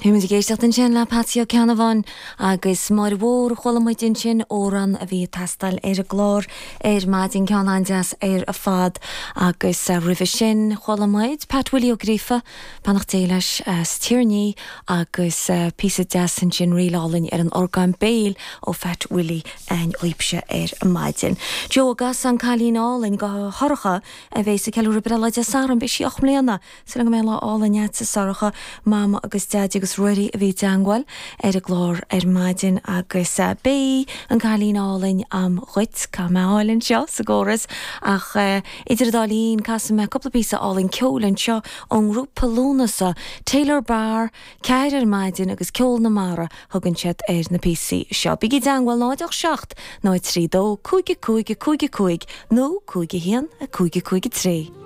Bhí muid ag éisteacht ansin le Patsy Ó Ceannabháin agus Máire Mhór a chuala muid ansin, amhrán a bhí ag teastáil ar an gclár ar maidin, ceann an-deas ar fad. Agus roimhe sin chuala muid Pat Willie Ó Gríofa, beannacht Dé leis, as Tír an Fhí agus píosa deas ansin, ríl álainn ar an orgán béil ó Phat Willie againn dhaoibhse ar maidin. Joe ag casadh An Cailín Álainn do Shorcha a bhéas ag ceiliúradh breithlá Dé Sathairn, beidh sí 8 mbliana. Súil agam go mbeidh lá álainn agat a Shorcha, Mama agus Deaidí agus Ruairí a bhí i dteangmháil ar an gclár ar maidin agus beidh an cailín álainn a'm dhuit, caithfidh mé a fháil anseo sa gcóras ach idir an dá linn casfaidh mé cúpla píosa álainn ceoil anseo ón ngrúpa Lúnasa, Taylor Barr, Ceathair ar maidin agus Ceol na Mara thugann siad ar na píosaí seo. Bígí i dteangmháil 0 8 7 0 3 2 5 5 5 5 nó 5 1 5 5 3.